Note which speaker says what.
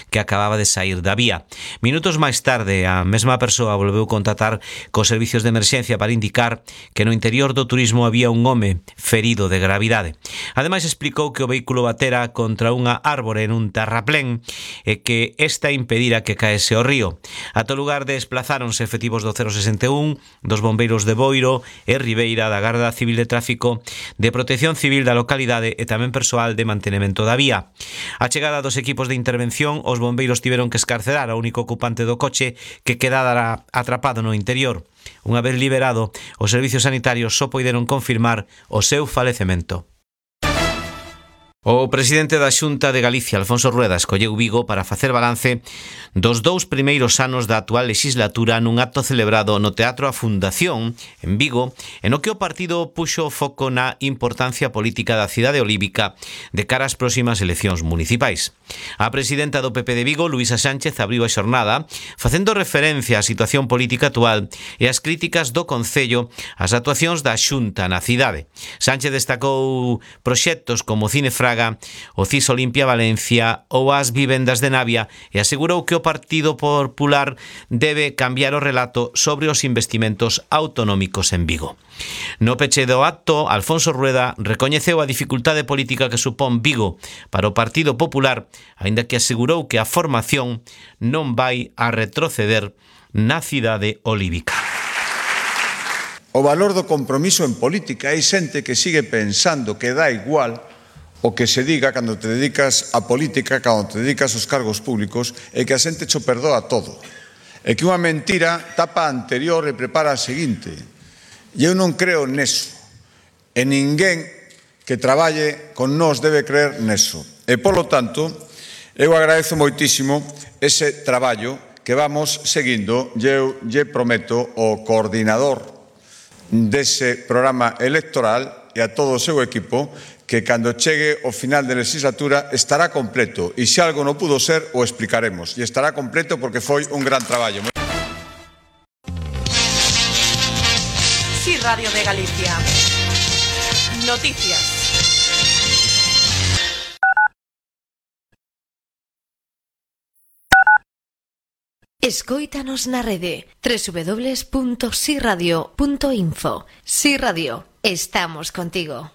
Speaker 1: que acababa de sair da vía. Minutos máis tarde, a mesma persoa volveu contactar cos servicios de emerxencia para indicar que no interior do turismo había un home ferido de gravidade. Ademais, explicou que o vehículo batera contra unha árbore en un terraplén e que esta impedira que caese ao río. Ata o lugar desplazáronse efectivos do 061, dos bombeiros de Boiro e Ribeira, da Garda Civil de Tráfico, de Protección Civil da localidade e tamén persoal de mantenemento da vía. A chegada dos equipos de intervención, os bombeiros tiveron que escarcerar ao único ocupante do coche que quedara atrapado no interior. Unha vez liberado, os servicios sanitarios só poideron confirmar o seu falecemento. O presidente da Xunta de Galicia, Alfonso Rueda, escolleu Vigo para facer balance dos 2 primeiros anos da actual legislatura nun acto celebrado no Teatro A Fundación, en Vigo, en o que o partido puxo o foco na importancia política da cidade olívica de cara ás próximas eleccións municipais. A presidenta do PP de Vigo, Luísa Sánchez, abriu a xornada facendo referencia á situación política actual e ás críticas do Concello ás actuacións da Xunta na cidade. Sánchez destacou proxectos como Cine Fraga, o CIS Olimpia Valencia ou as vivendas de Navia e asegurou que o Partido Popular debe cambiar o relato sobre os investimentos autonómicos en Vigo. No peche do acto, Alfonso Rueda recoñeceu a dificultade política que supón Vigo para o Partido Popular, aínda que asegurou que a formación non vai a retroceder na cidade olívica.
Speaker 2: O valor do compromiso en política. Hai xente que sigue pensando que dá igual o que se diga cando te dedicas a política, cando te dedicas aos cargos públicos, e que a xente cho perdoa todo. E que unha mentira tapa a anterior e prepara a seguinte. E eu non creo neso. E ninguén que traballe con nós debe creer neso. E, polo tanto, eu agradezo moitísimo ese traballo que vamos seguindo. Eu lle prometo ao coordinador dese programa electoral e a todo o seu equipo que cando chegue o final de legislatura estará completo. E se algo non pudo ser, o explicaremos. E estará completo porque foi un gran traballo.
Speaker 3: Sí, Radio de Galicia. Noticias. Escóitanos na rede www.siradio.info. Sí Radio, estamos contigo.